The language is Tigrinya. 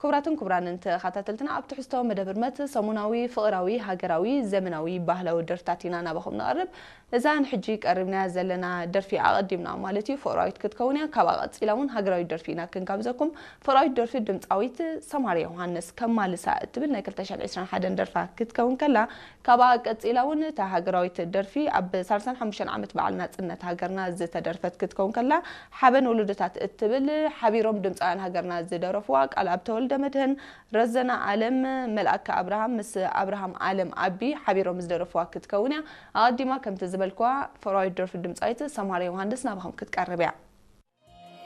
ክቡራትን ክቡራንን ተኸታተልትና፣ ኣብ ትሕዝቶ መደብ ህርመት ሰሙናዊ ፍቕራዊ ሃገራዊ ዘመናዊ ባህላዊ ደርፍታት ኢና ናባኹም ንቐርብ። እዛ ንሕጂ ቀሪብናያ ዘለና ደርፊ ኣቐዲምና ማለት እዩ ፍቕራዊት ክትከውን እያ። ካብኣ ቀጺላ እውን ሃገራዊት ደርፊ ኢና ክንጋብዘኩም። ፍቕራዊት ደርፊ ድምጻዊት ሰማርያ ዮሃንስ ከማልሳ እትብል ናይ ክልተ ሽሕን ዕስራን ሓደን ደርፋ ክትከውን ከላ፣ ካብኣ ቀጺላ እውን እታ ሃገራዊት ደርፊ ኣብ ሰላሳን ሓሙሽተን ዓመት በዓል ናጽነት ሃገርና ዝተደርፈት ክትከውን ከላ፣ ሓበን ወለዶታት እትብል ሓቢሮም ድምጻውያን ሃገርና ዝደረፍዋ፣ ቃልኣብ ተወልደ መድህን፣ ረዘና ኣለም፣ መልኣከ ኣብርሃም ምስ ኣብርሃም ኣለም ኣቢ ሓቢሮም ዝደረፍዋ ክትከውን እያ። ኣቐዲማ ከምቲ ዝበልክዋ ፍቕራዊት ደርፊ ድምጻዊት ሰማርያ ዮሃንስ ናባኹም ክትቀርብ እያ።